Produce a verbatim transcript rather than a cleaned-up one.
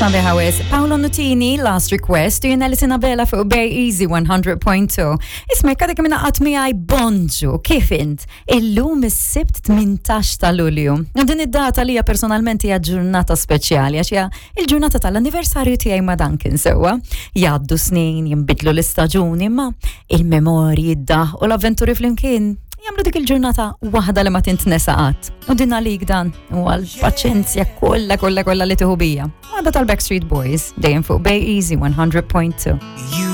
Sabiħa wisq. Paolo Nutini, Last Request, u jiena Alison Abela fuq Bay Easy one hundred point two. Isma', għadek minn qatt miegħi, bonġu, kif int? Illum is-Sibt tmintax ta' Lulju. U din id-data li hija personalment hija ġurnata speċjali għax hija il-ġurnata tal-anniversarju tiegħi ma' Duncan sewwa. Jgħaddu snin, jinbidlu l-istaġuni, ma il-memorji, id-daħk u l-avventuri flimkien jagħmlu dik il-ġurnata waħda li ma tintnesa qatt. U din għalik dan u għal-paċenzja kollha kollha kollha li tieħu bija. Waħda tal-Backstreet Boys, dejjem fuq Bay Easy one hundred point two. You